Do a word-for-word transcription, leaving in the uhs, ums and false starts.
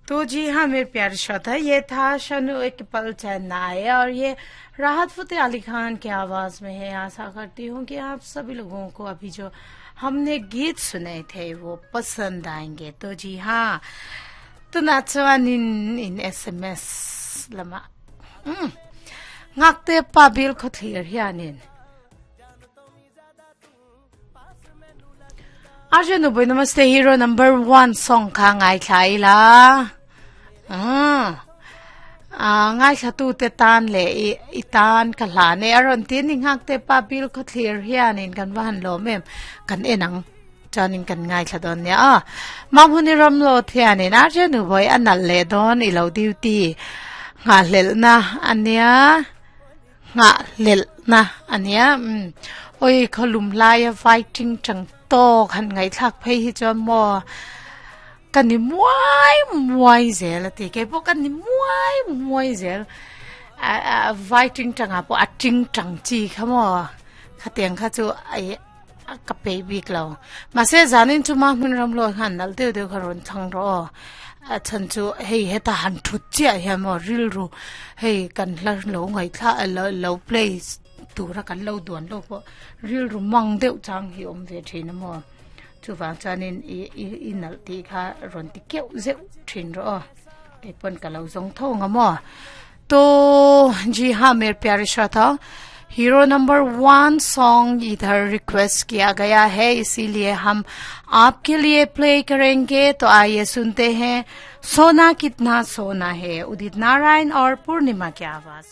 तो जी हाँ मेरे प्यारे श्रोता, ये था शनु एक पल चैन ना आए और ये राहत फतेह अली खान की आवाज़ में है। आशा करती हूँ कि आप सभी लोगों को अभी जो हमने गीत सुने थे वो पसंद आएंगे। तो जी हाँ, तो नाचवान in S M S lama ngakte pabil khothir hianin Arjun boy namaste hero number one song kha ngai thlai la ah ngai thla tu te tan le i tan ka hla ne aron tin ni ngak te pa bil kho thlir hianin kan van lo mem kan enang chanin kan ngai thla don ne a mamhuni ram lo thianin Arjun boy anal le don i lo duty nga lel na ania nga lel na ania oi kholum lai fighting chang to khan ngai thak phei hi chon mo kan ni muai muai zel ti ke po kan ni muai muai zel a a fighting tanga po a ting tang chi khamo khateng kha chu ai ka pe bik lo ma se zanin chu ma hun ram lo han nal deu deu kharon thang ro a chan chu hei heta han thu chia he mo ril ru hei kan hla lo ngai thla lo lo play tura kan lo duan lo po ril ru mang deuh chang hi om ve thin mo chu wang chanin i i nal ti kha ron ti keu zeu thin ro ke pon ka lo zong tho nga mo। तो जी हाँ मेरे प्यारे श्रोता, hero number one song इधर request किया गया है, इसीलिए हम आपके लिए प्ले करेंगे। तो आइए सुनते हैं सोना कितना सोना है, उदित नारायण और पूर्णिमा की आवाज।